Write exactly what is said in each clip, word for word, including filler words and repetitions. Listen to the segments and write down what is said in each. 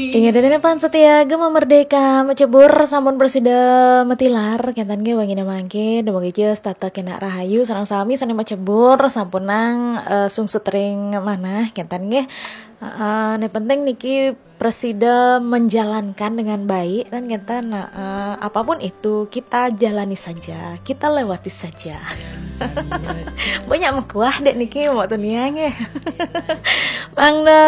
Inggih, dene pan setia Gema Merdeka, macebur sampun prasida matilar, kenten nggih wangine mangke, dumugi setata kena rahayu, sareng sami sane macebur sampun nang, eh, sungsut ring manah, kenten nggih. Heeh, ne penting niki prasida menjalankan dengan baik, kan kenten, heeh, apapun itu kita jalani saja, kita lewati saja. Banyak mekuah dek niki, Mbok Tunia nggih. Mangda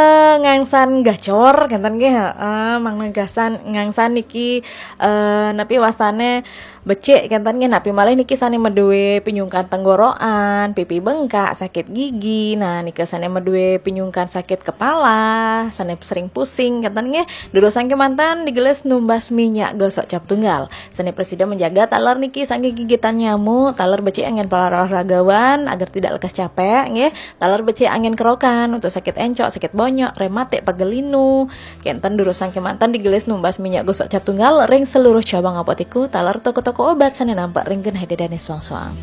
ngangsan gacor, kenten nggih, heeh, mangda ngangsan, ngangsan niki, eh, napi wastane becik, kenten nggih, napi malih niki sane madue pinyungkan tenggorokan, pipi bengkak, sakit gigi, nah nika sane madue pinyungkan sakit kepala, sane sering pusing, kenten nggih, durusang kemanten digelis numbas minyak gosok cap tunggal. Sane prasida menjaga taler niki saking gigitan nyamuk, taler becik anggen para olahragawan agar tidak lekas capek, nggih. Taler becik anggen kerokan untuk sakit encok, sakit bonyok, rematik, pegel linu. Kenten durusang kemanten digelis numbas minyak gosok cap tunggal ring seluruh cabang apotiku, taler toko-toko obat sane nampak ring genah dedane suang-suang.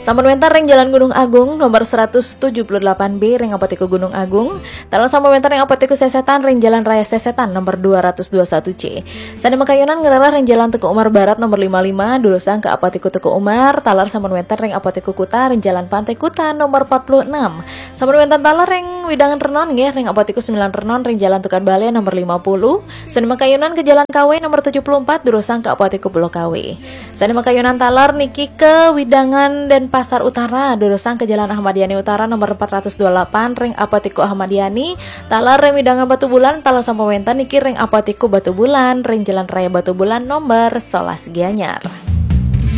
Sampun wenten ring Jalan Gunung Agung nomor seratus tujuh puluh delapan B ring Apotiku Gunung Agung. Taler sampun wenten ring Apotiku Sesetan ring Jalan Raya Sesetan nomor dua ratus dua satu C. Sane makayunan ngrereh ring Jalan Teuku Umar Barat nomor lima lima, durusang ke Apotiku Teuku Umar, taler sampun wenten ring Apotiku Kuta ring Jalan Pantai Kuta nomor empat puluh enam. Sampun wenten taler ring Widangan Renon nggih, ring Apotiku Sembilan Renon ring Jalan Tukad Bale nomor lima puluh. Sane makayunan ke Jalan Kawe nomor tujuh puluh empat, durusang ke Apotiku Pulau Kawe. Sane makayunan taler niki ke Widangan Denpasar Utara, durusang ke Jalan Ahmad Yani Utara nomor empat ratus dua puluh delapan ring Apotiku Ahmad Yani, taler ring Widangan Batubulan, taler sampun wenten niki ring Apotiku Batubulan ring Jalan Raya Batubulan nomor sebelas Gianyar.